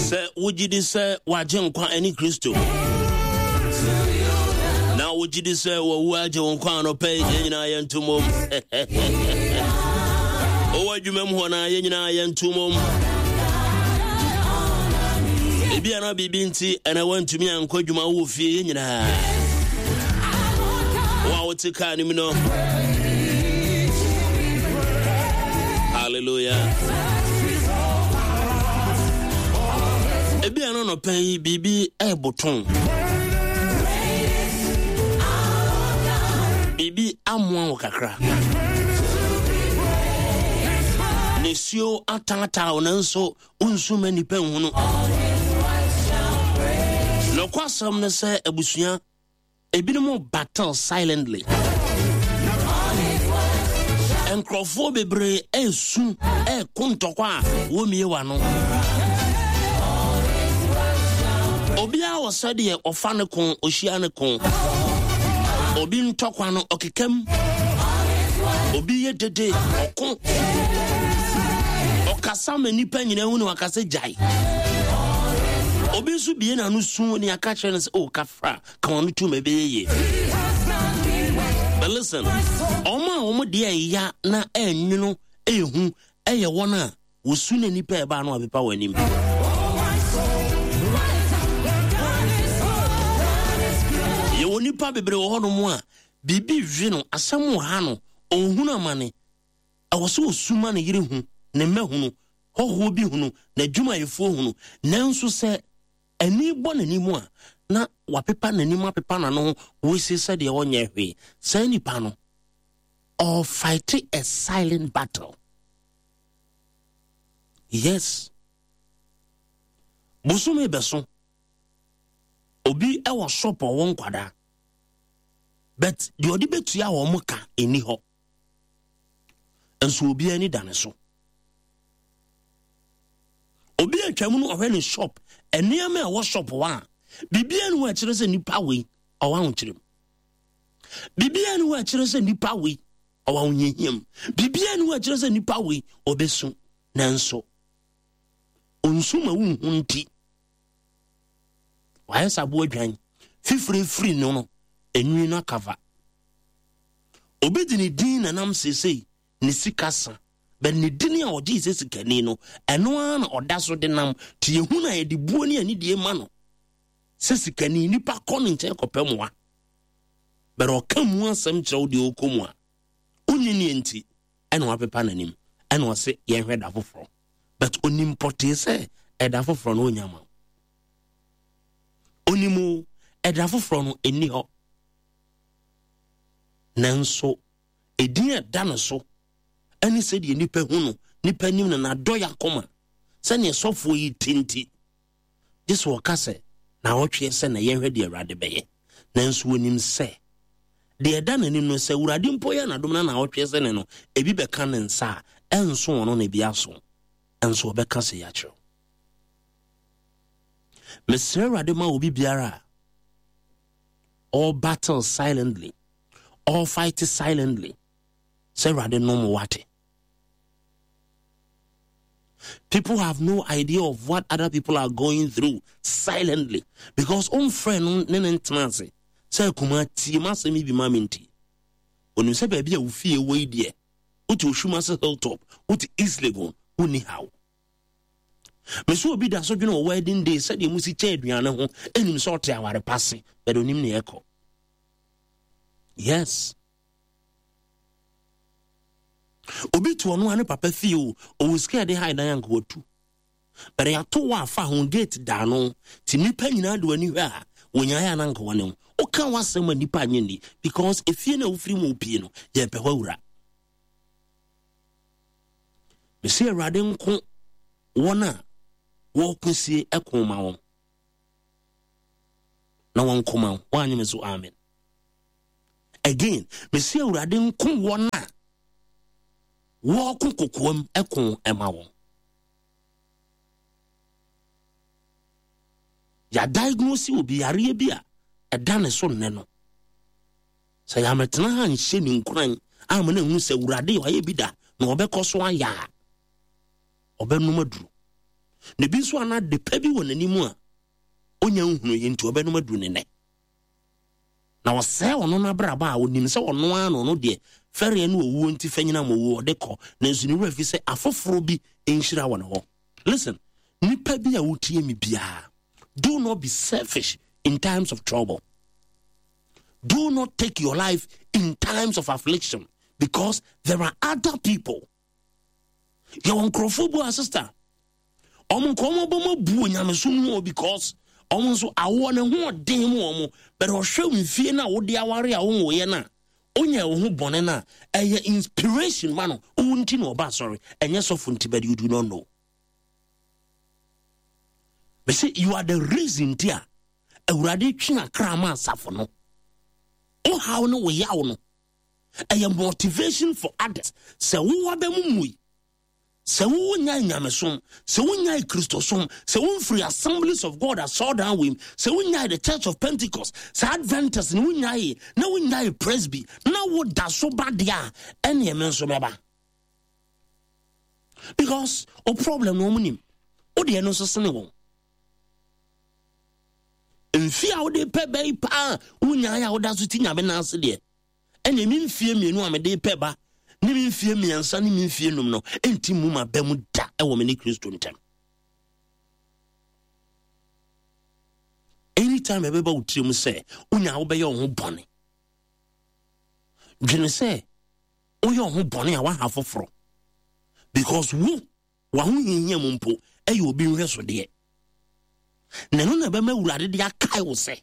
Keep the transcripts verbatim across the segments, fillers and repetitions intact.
Sɛ wogye di sɛ wagye nkwa ne Kristo na wogye di sɛ wawu agye wo nkwa anɔpɛ yi, yɛn nyinaa yɛnto mmom. Wowɔ adwuma mu hɔ no a, yɛn nyinaa yɛnto mmom. Ebi ana biribi nti ɛna wantumi ankɔ adwuma, wowɔ fie, yɛn nyinaa. Wo a wote kaa no mu no, hallelujah. Ebi ano nɔpɛ yi biribi ɛɛboton, biribi amoa wo kakra, nisuo ataataa wo, nanso wonsu ma nnipa nhunu. Nɔkwasɛm no sɛ abusua ebinom battle silently. Nkurɔfoɔ bebree ɛresu ɛreko ntɔkwa a wɔmmie w'ano. Obiara wɔ sɛdeɛ ɔfa ne ko, ɔhyia ne ko. Obi ntɔkwa no ɔkekam, obi yɛ dede, ɔko, ɔkasa ma nnipa nyinaa hu ne wakasa gyae. Obi nso bie n'ano su ne aka kyerɛ no sɛ o kafra ka wɔn tum ɛbɛyɛ yie. But listen, wɔn a wɔn deɛ ɛya na ɛnwono ɛhu ɛyɛ wɔn a wɔsu na nipa ɛbaa no apepa wɔn anim. Yɛwɔ nipa bebree wɔ hɔnom a biribi hwe no, asɛm wɔ ha no, ɔhunu amane, ɛwɔ sɛ ɔsu ma ne yere hu, ne mma hunu, hɔhoɔ bi hunu, n'adwumayɛfoɔ hunu. Nanso sɛ ani bɔ n'anim a, na wapepa n'anim, apepa n'ano ho, wɔsi sɛdeɛ ɔnyɛ hwee. Saa nipa no ɔfight a silent battle. Yes, bosome bɛso, obi ɛwɔ shop, ɔwɔ nkwadaa, but deɛ ɔde bɛtua wɔn ka ɛni hɔ, nso obi ani da ne so. Obi atwa mu no, ɔhwɛ ne shop nneɛma a ɛwɔ shop hɔ a, biribiara ni hɔ a ɛkyerɛ sɛ nipa wei ɔwɔ ahokyere mu. Biribiara ni hɔ a ɛkyerɛ sɛ nipa wei ɔwɔ ahohiahia mu. Biribiara ni hɔ a ɛkyerɛ sɛ nipa wei ɔbɛsu, nanso onsu ma wonhu. Nti wayɛ sɛ aboa dwan fifire firi no no enwi no akava. Obi de ne din nanam seesei ne sika sa bɛ ne din a ɔgye sɛ sikani no, ɛno ara na ɔda so de nam te. Yɛhu no a, yɛde buo ne anidie ma no sɛ sikani. Nipa kɔ ne nkyɛn kɔpɛ mmoa, bɛrɛ ɔka mu asɛm kyerɛ wo deɛ ɔkɔ mu a wonni ne nti ɛna wapepa n'anim, ɛna ɔse yɛnhwɛ da foforɔ, but onim pɔtee sɛ ɛda foforɔ no ɔnya ma wo. Onim o, ɛda foforɔ no ɛnni hɔ, nanso ɛdin a ɛda no so ɛne sɛdeɛ nipa hu no, nipa nim no, n'adɔ yɛ akoma sɛneɛ sɔfoɔ yi ti nti gye sɛ ɔka sɛ na ɔtweɛ sɛ na yɛnhwɛ deɛ Awurade bɛyɛ. Nanso onim sɛ deɛ ɛda n'anim no, sɛ Awurade mpo yɛ n'adom na na ɔtweɛ sɛ ne no ebi bɛka ne nsa a, ɛnso ɔno na ebi aso, ɛnso ɔbɛka sɛ yɛakyerɛw. Mesrɛ Awurade ma obi biara a ɔ battle silently, ɔ fight silently, sɛ Awurade nom wate. People have no idea of what other people are going through silently because ɔmfrɛ no ne ne ntena ase sɛ akuma tie ma asɛm yi bi ma me. Nti onim sɛ baabi a wofie wɔ yi deɛ, wote Oshumase Hilltop, wote East Legon, wonni haw. Mesɛ obi da so dwene wɔ wedding day sɛdeɛ mu si kyɛ aduane ho, ɛnim sɛ ɔte aware pa se bɛde onim ne ɛkɔ. Yes, obi te ɔno a ne papa fie o, ɔwɔ sika yɛde ha dan anka watu, bɛrɛ yɛato wɔ afa ho gate da no nti nnipa nyinaa de w'ani hwɛ a wɔnyaeɛ a na anka wɔne wo woka w'asɛm a nnipa anyɛ nni because efie no a wofiri mu pie no, yɛpɛ hɔ awura. Mesi Awurade nko wɔn a wɔko sie ɛko ma wɔn na wɔn nko ma wo. Wɔanyɛ me so amen. Again, mesi Awurade nko wɔn a wɔko kokoam ɛko ɛma wɔn. Yɛadiagnose obi yareɛ bi a ɛda ne so nnɛ no, sɛ yɛametena ha nhyɛ ne nkuran ama no ahu sɛ Awurade ɔayɛ bi da na ɔbɛkɔ so ayɛ a, ɔbɛnom aduru. Na ebi nso ana de pa bi wɔ n'anim a onya nhunu yi nti ɔbɛnom aduru ne nɛ. Na ɔsɛe ɔno n'abrabɔ a onim sɛ ɔno ara na ɔno deɛ fɛreɛ ne owuo nti fɛnyina ma owuo ɔde kɔ, nanso ne wura fi sɛ afoforɔ bi nhyira wɔ ne hɔ. Listen, nipa bi a wotie mi biara, do not be selfish in times of trouble. Do not take your life in times of affliction, because there are other people. Yɛwɔ nkurɔfoɔ bu a, sister, ɔmo nka ɔmo abɔ mo abu onyamesom ho, because ɔmo nso awoɔ ne ho ɔden mu ɔmo, but ɔhwɛ mfie no a wode aware a wonwoyɛ no a onya wo ho bɔne no a, ɛyɛ inspiration ma no. Wo nti na ɔba asɔre, ɛnyɛ sɔfo nti, but you do not know. Bɛsɛ you are the reason nti a Awurade twe akra ma asafo no. Wohaw no, wo yaw no ɛyɛ motivation for others. Sɛ wowɔ bɛ mu mui, sɛ wowɔ nyae nyamesom, sɛ wonyae Kristosom, sɛ womfiri Assemblies of God asɔredan wei, sɛ wonyae the Church of Pentecost, sɛ Adventist ne wonyae na wonyae Presby na woda so ba deɛ a, ɛneɛ me nso mɛba, because o problem no ɔmo nim wodeɛ no nso sene wɔn. Mfie a wode pɛ bɛyi paa wonyae a woda so ti Nyame nan ase deɛ, ɛne me mfie mmienu a mede pɛ ba ne me mfie mmiɛnsa ne me mfie num no ɛnti mu ma bɛ mu da ɛwɔ me ne Kristo ntam. Anytime ɛbɛba wo tirim sɛ wonya wobɛyɛ wo ho bɔne, dwene sɛ woyɛ wo ho bɔne a woaha foforɔ, because wo w'ahohiahia mu mpo ɛyɛ obi nhwɛsodeɛ, na ɛno na ɛbɛma Awurade de akae wo sɛ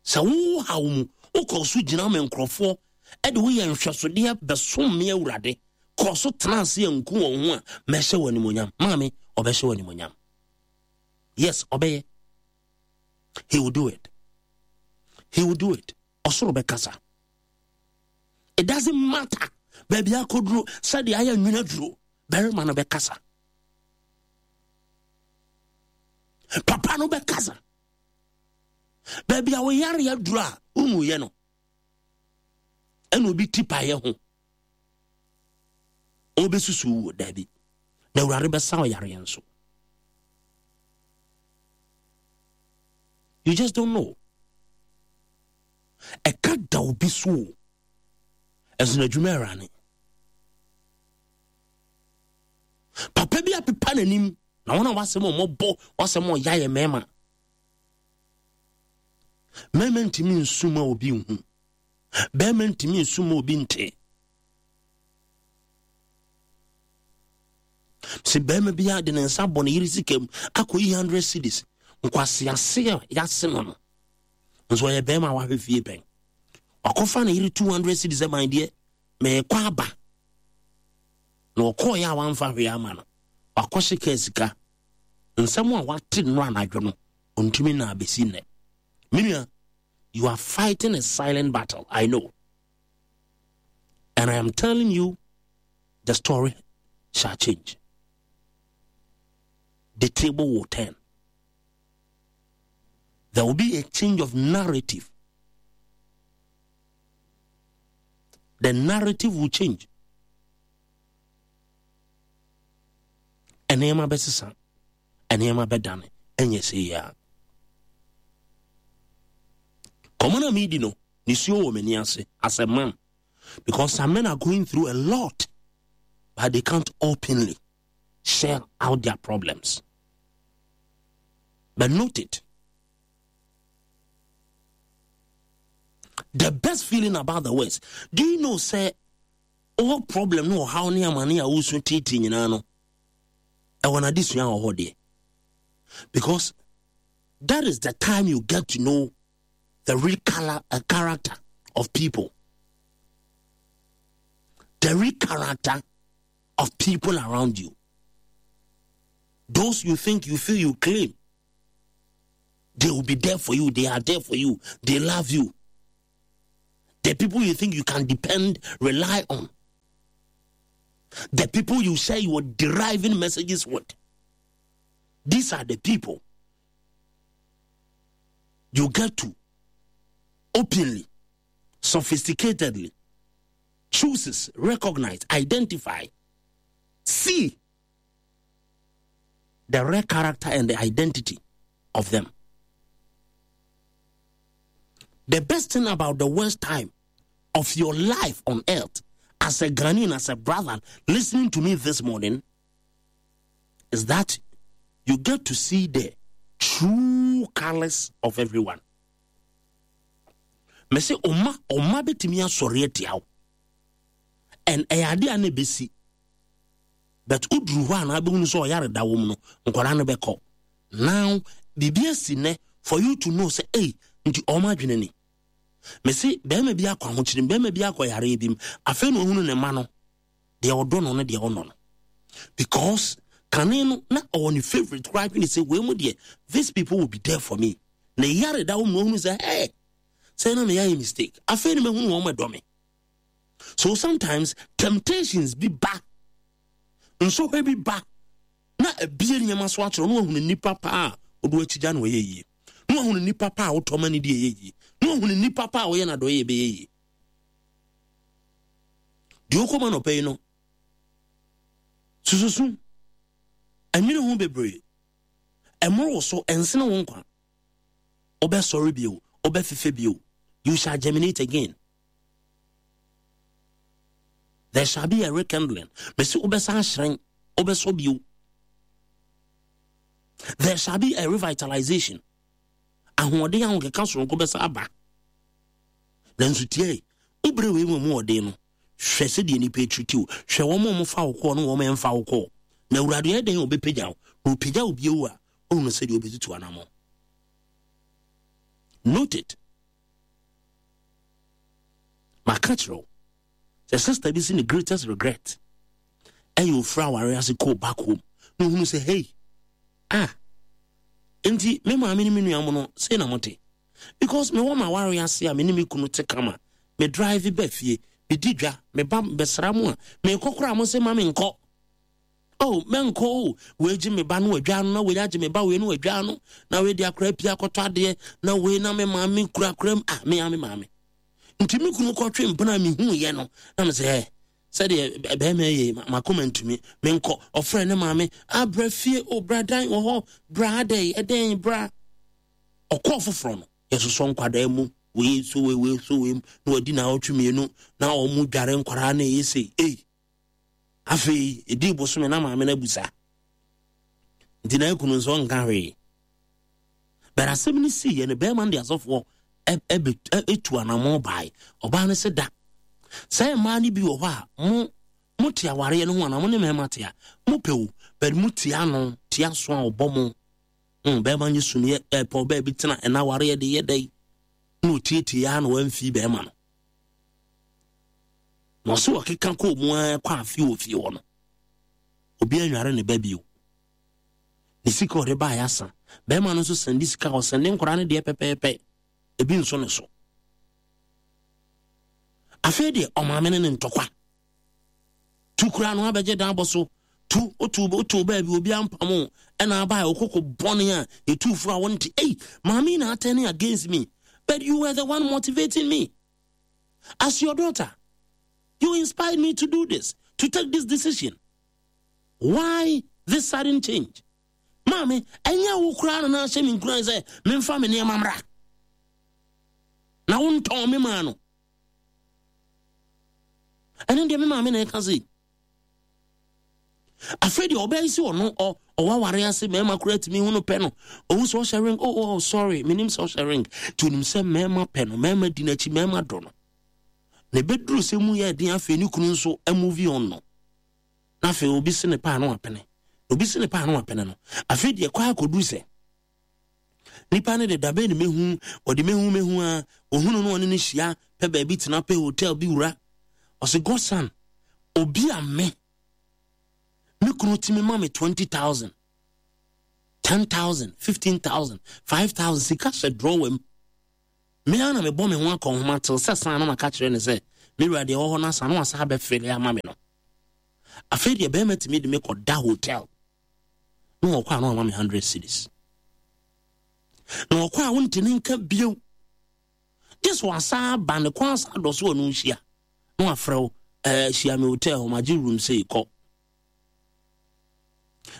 sɛ wo haw mu wokɔ so gyina ma nkurɔfoɔ ɛde woyɛ nhwɛsodeɛ bɛsom me Awurade, kɔ so tena ase anku wɔn ho a, mɛhyɛ wɔ animonyam. Maame, ɔbɛhyɛ wɔ animonyam. Yes, ɔbɛyɛ. He will do it, he will do it. Ɔsoro bɛkasa. It doesn't matter baabi akɔduro, sɛdeɛ ayɛ nwena duro, barima no bɛkasa, papa no bɛkasa. Baabi a woyare aduro a womuyɛ no, ɛna obi ti paeɛ ho ɔbɛsusu wo daabi, na Awurade bɛsa ɔyareɛ nso. You just don't know. Ɛka da obi so o, ɛso na adwuma awurane papa bi apepa n'anim na wɔn a wasɛm a wɔbɔ wasɛm a ɔya yɛ mmarima. Mmarima ntumi nsu ma obi nhu, bɛrima ntumi nsu ma obi nte. Sɛ bɛrima bi de ne nsa bɔ ne yere sika mu akɔyi hundred cedis, nkwasease a yɛase no no nso ɔyɛ bɛrima a wahwɛ fie pɛn, wakɔfa ne yere two hundred cedis ɛman deɛ mɛɛkɔ aba na ɔkɔɔyɛ a wamfa hwee ama no, wakɔhye kaa sika. Nsɛm a wate no anadwo no, ɔntumi na abɛsi nnɛ. Menua, you are fighting a silent battle, I know, and I am telling you, the story shall change. The table will turn. There will be a change of narrative. The narrative will change. Nneɛma bɛsesa, nneɛma bɛdane, ɛnyɛ sɛ yie a kɔmɔ na meedi no nisuo wɔ m'ani ase as a man, because some men are going through a lot, but they can't openly share out their problems. But note it, the best feeling about the words, do you know say all problem no ɔhaw ne amane a wosu tiitii nyinaa no ɛwɔ n'adesua wɔ hɔ deɛ, because that is the time you get to know the real color, uh, character of people, the real character of people around you, those you think, you feel, you claim they will be there for you, they are there for you, they love you, the people you think you can depend, rely on, the people you say you are deriving messages with, these are the people you get to openly, sophisticatedly chooses, recognize, identify, see. the real character and the identity of them. The best thing about the worst time of your life on earth, as a Ghanaian, as a brother listening to me this morning, is that you get to see the true colors of everyone. Mese ɔma ɔma bɛtumi asɔre atia wo and ɛyɛ ade a na ɛbɛsi, but woduru hɔ a na abɛhunu sɛ ɔyare da wɔ mu no, nkwadaa no bɛkɔ. Now biribi asi nnɛ for you to know sɛ ei, nti ɔma adwene ni. Mese bɛrima bi akɔ ahokyere, bɛrima bi akɔ yareɛ bi mu, afei na ɔhunu ne ma no deɛ ɔdɔ no ne deɛ ɔnɔ no, because kane no na ɔwɔ ne favourite koraa, dwene sɛ wei mu deɛ, these people will be there for me. Na yare da wɔ mu na ɔhunu sɛ, hey, sɛ na meyɛ mistake, afei na mahunu wɔn ɛdɔ me. So sometimes temptations bi ba, nsɔhwɛ bi ba na ebie nneɛma so akyerɛ na wahunu nipa paa a ɔde akyigya na ɔyɛ yie, na wahunu nipa paa a wotɔ ma ne di ɛyɛ yie, na wahunu nipa paa a ɔyɛ n'adɔyɛ ɛbɛyɛ yie. Deɛ ɔkɔma nɔpɛ yi no sususu ɛnwene ho bebree, ɛmoro wo so, ɛnsene wo nkwa. Wobɛsɔre bio, wobɛfefɛ bio. You shall germinate again. There shall be a rekindling. Mesi wobɛsan hyerɛn, wobɛsɔ bio. There shall be a revitalization. Ahoɔden ahokeka soronko bɛsa aba. Nanso tie, wobere wei mu mu ɔden no, hwɛ sɛdeɛ nipa atiriti wo, hwɛ wɔn a wɔfa wo kɔɔ ne wɔn a ɛmfa wo kɔɔ. Na Awurade yɛ dɛn a ɔbɛpagya wo, na ɔpagya wo bio a, ɔhunu sɛdeɛ ɔbɛtutu anammɔn. Note it. Maka kyerɛ wo sɛ sister bi si ne greatest regret ɛyɛ ofura aware ase kɔɔ back home na ohunu sɛ, hey, ah, nti me maame ne me nua mo no sei na mote, because mewɔ ma aware ase a, me ne me kunu te kama, me drive ba fie, medi dwa, meba bɛsra mo a, mekɔ koraa mo sɛ ma menkɔ. Oh, mɛnkɔ o, wei gye me ba no adwa no, na wei agye me ba wei no adwa no, na wei de akora pia akɔtɔ adeɛ, na wei na me maame kura kura mu. Ah, me a me maame nti me kunu kɔtwe mpena a mehu yɛ no na me sɛ ɛ sɛdeɛ bɛrima yɛ makoma ntumi menkɔ. Ɔfrɛ ne maame, abra fie o, bra dan wɔ hɔ, bra adɛn ɛdɛn bra. Ɔkɔɔ foforɔ no, yɛsosɔ nkwadaa mu, wei so wei, wei so wei, na wadi na ɔtwe mmienu na wɔn dware nkwadaa na ɛyɛ sei. Ei, afei ɛdii bosome na maame no abusa, nti na akunu nso ɔnka hwee. Bɛrɛ asɛm no sii yɛ no, bɛrima no de asɔfoɔ ɛtu anammɔn bae. Ɔbaa no sɛ da sɛ mmaa no bi wɔ hɔ a, mo mote awareɛ no ho anaa mo ne mmarima te a, mopɛ o, bɛde mo tia ano tia so a ɔbɔ mo mm, bɛrima nye sumiɛ ɛpɛ ɔbaa bi tena ɛna awareɛ de yɛ dɛ na ɔtietie ya na wamfi bɛrima no na ɔsɛ wɔkeka kɔɔ mu ara kɔ afe wɔ fie hɔ no, obi anware ne ba bio. Ne sika ɔde baeɛ asa. Bɛrima no nso sɛnde sika, ɔsɛnde nkwaraa no deɛ pɛpɛɛpɛ, ebi nso ne so. Afei deɛ ɔmaame ne ne ntɔkwa tu kura no abɛgye dan bɔ so tu otu otu baabi obi ampam o, ɛna aba a okoko bɔne a etu fo a wɔnte. Ei, maame na turning against me, but you were the one motivating me. As your daughter, you inspired me to do this, to take this decision. Why this sudden change? Maame, ɛnyɛ wo koraa na na ahyɛ me nkuran sɛ memfa me nneɛma mmra na wontɔn me maa no? Ɛno deɛ me maame na ɛka se afei deɛ ɔbɛyɛ si ɔno ɔwɔ aware ase, mmarima koraa tumi hu no pɛ no, ɔhu sɛ ɔhyɛ ring. oh, oh sorry, menim sɛ ɔhyɛ ring, nti onim sɛ mmarima pɛ no, mmarima di n'akyi, mmarima dɔ no. Na ɛbɛduru sɛ mu yɛ den, afei ne kunu nso move on no, na afei obi se ne paa no apene, obi se ne paa no apene no. Afei deɛ kɔ akɔduru sɛ nipa no de dabɛn ne mehu, ɔde mehu mehu a ohunu no, ɔne no hyia pɛ baabi tena, pɛ hotel bi wura. Ɔsɛ, "Godson, obi a me me kunu tumi ma me twenty thousand, ten thousand, fifteen thousand, five thousand, sika hyɛ drawer mu, me ara na mebɔ me ho akɔ nhoma tew sɛ san na maka kyerɛ ne sɛ me wura deɛ ɛwɔ hɔ no asa, na wasa abɛfele ama me no. Afei deɛ bɛrima tumi de me kɔ da hotel na wɔkɔ a na wama me hundred cedis, na wɔkɔ a wonte ne nka bio, gye so wasa aba ne kwan asa adɔ so, ɔno nhyia na wafrɛ wo, ɛɛ hyia me hotel hɔ, magye room sei kɔ.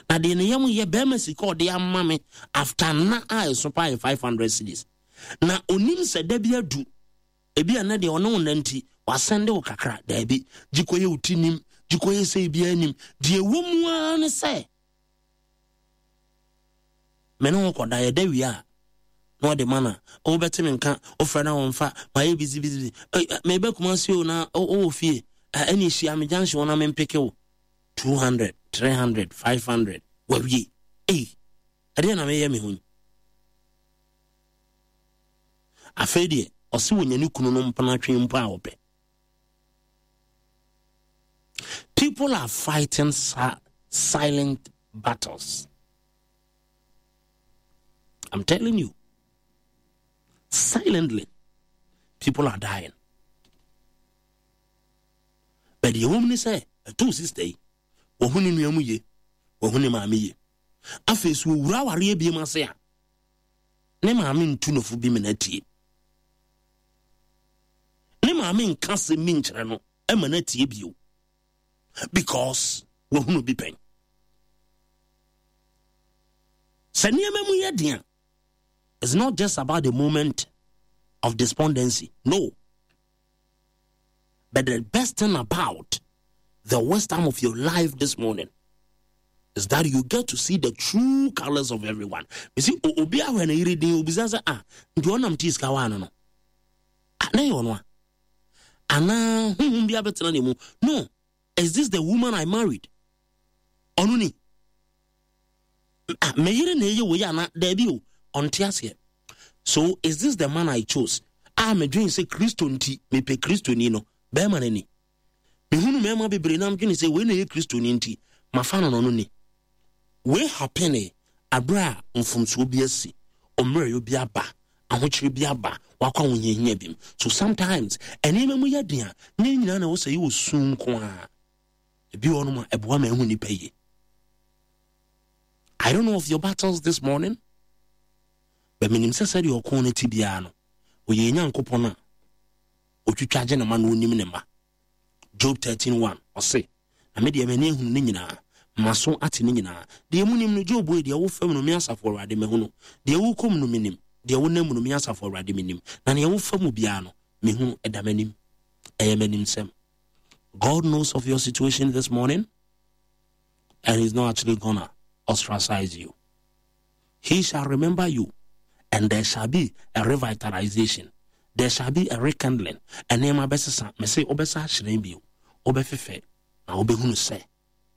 Na deɛ ne yam yɛ bɛrima sika ɔde ama me after na a ɛso paa yɛ five hundred cedis. Na onim sɛ da bi adu ebi a na deɛ ɔne wo nna nti wasɛnde wo kakra daabi gye kɔyɛ wo ti nim gye kɔyɛ sɛ biara nim deɛ ɛwɔ mu ara ne sɛ me ne wo kɔda yɛda wie a na ɔde ma na wobɛte me nka wofrɛ na wɔmfa mayɛ busy busy mebɛ Kumase o na wowɔ fie ɛne hyia me junction na mempeke wo two hundred three hundred five hundred wawie ei ɛdeɛ na meyɛ me ho yi afei deɛ ɔse wɔnya ne kunu no mpena twe mpo a wɔpɛ people are fighting silent battles i'm telling you silently people are dying but deɛ wɔm ne sɛ ɛtoo sister yi wɔhu ne nua mu ye wɔhu ne maame ye afei so wɔwura awareɛ biem ase a ne maame ntu nofo bi mena tie ne maame nka sɛm bi nkyerɛ no ɛma no atie bio because wahunu bi pɛn sɛ nneɛma mu yɛ den a it's not just about the moment of despondency no but the best thing about the worst time of your life this morning is that you get to see the true colors of everyone. You see, obi ahwɛ na yiri din obisa sɛ ah nti ɔnam tii sika waa no no ah na yɛ ɔno a anaa huhum bi abɛtena ne mu no is this the woman I married ɔno ni ah mɛyere na ɛyɛ wei ana daabi o ɔnte aseɛ so is this the man I chose a medwene sɛ kristo nti mepɛ kristo ni no bɛrima no ni mehunu mmarima bebree na medwene sɛ wei na ɛyɛ kristo ni nti mafa no no no ni wei happen abere a mfomsoɔ bi asi ɔmmerɛyɛ bi aba ahokyere bi aba wakɔ ahohiahia bi mu so sometimes nneɛma mu yɛ den a ne nyinaa na ɛwɔ sɛ yɛwɔ sum nko a ebi wɔ nom a ɛboa ma ɛho nipa yie I don't know of your battles this morning but menim sɛ sɛdeɛ ɔko no ti biara no ɔyɛ nyankopɔn a ɔtwitwa gye ne ma na ɔnim ne ma Job thirteen one ɔse na me deɛ m'ani ahunu ne nyinaa maso ate ne nyinaa deɛ mu nim no Job wei deɛ wo fam no me asafo awurade mahu no deɛ wokɔ mu no menim deɛ wonam mu no me asafo awurade menim na deɛ wofa mu biara no mehu ɛda m'anim ɛyɛ m'anim sɛm God knows of your situation this morning and he's not actually gonna ostracize you he shall remember you and there shall be a revitalization there shall be a rekindling nneɛma bɛsesa mɛsɛ wobɛsa ahyerɛn bio wobɛfefɛ na wobɛhunu sɛ